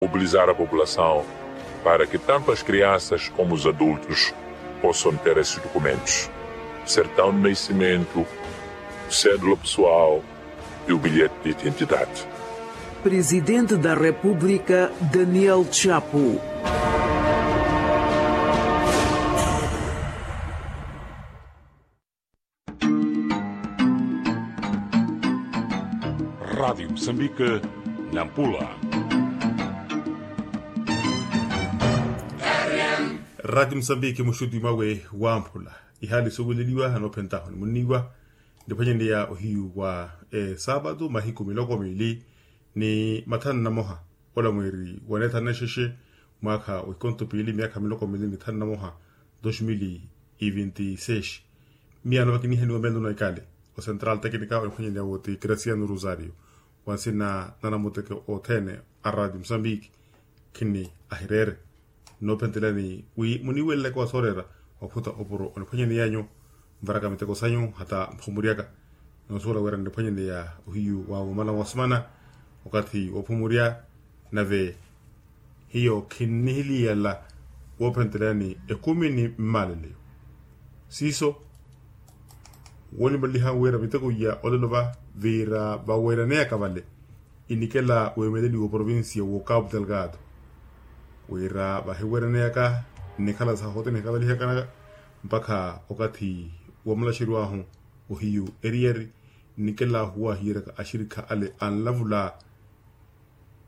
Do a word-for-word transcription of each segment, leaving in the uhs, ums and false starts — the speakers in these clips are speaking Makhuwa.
Mobilizar a população para que tanto as crianças como os adultos possam ter esses documentos: certidão de nascimento, cédula pessoal e o bilhete de identidade. Presidente da República, Daniel Chapo. Radiyo musambike, nampula. Radiyo musambike muxuti mwawe wamphula. Ihaali soweleliwa anoophentahu ni munniwa, niphwanyeneya ohiyu wa esaapatu mahiku miloko miili ni mathanu na moha. Ola mweeri wa neethanu na exexe, mwaakha wa ikonto piili myaakha miloko miili ni thanu na moha, dos mil e vinte e seis. Miyaano vakinihaniwa melo na ikale, o central tecnica oniphwanyeneya wo ti graciano rosario, wa nsina na namuteke othene a radio musambiki. Khini ahireere noophentelani wi muniiwelelaka wa sooreera, ophuta opuro oniphwanyeneyanyu, nvaraka miteko sanyu hata mphumuryaka. Noosuwela wira nniphwanyeneya ohiyu wa mumala wa sumana, okathi woophumurya. Nave hiyo khinnihiliyala woophentelani ekumi ni mmaleleyo. Siiso woonimaliha wira miteko iya olelo va vira vaweeraneyaka vale, inikela weemeleliwa oprovincia wo capu delgado, wira vahiweeraneyaka nnikhala sahote nihikavalihakana mpakha okathi wamulaxeriwahu ohiyu eriyeri, nnikela huwahiyeryaka axirikha ale anlavula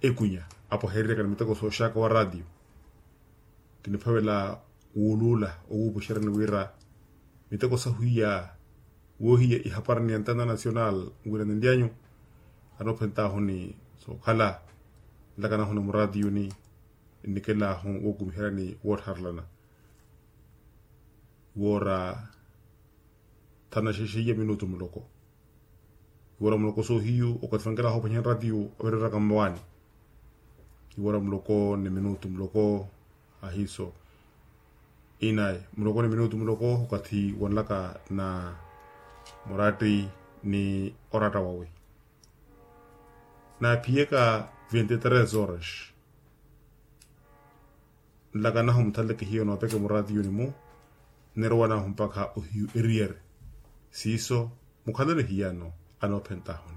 ekunya, apo aheereryaka ni miteko sooxaka wa ratiyo. Kiniphavela wuuluula owuupuxeryani wira miteko sahwiya woohiya ihapari ni antena nacional wira ninlyanyu, anoophentahuni sookhala nlakanahu na muratiyuni, nnikelahu wookumiheryani woottharelana. Woora thanu na xexe iya minutu muloko. Iwora muloko soohiyu okathi vankela hoophwanya nratiyu avereeraka mmawaani. Iwora muloko ni minutu muloko ahiiso. Inayi muloko ni minutu muloko okathi wanlaka na muratti ni oratta wawe. Naaphiyeka vinte tres horas. Nlakanahu muthaleke hiyo noopeke muratiyuni-mu, nnirowa nahu mpakha ohiyu eriyeri. Siiso mukhalani hiyano anoophentahuni.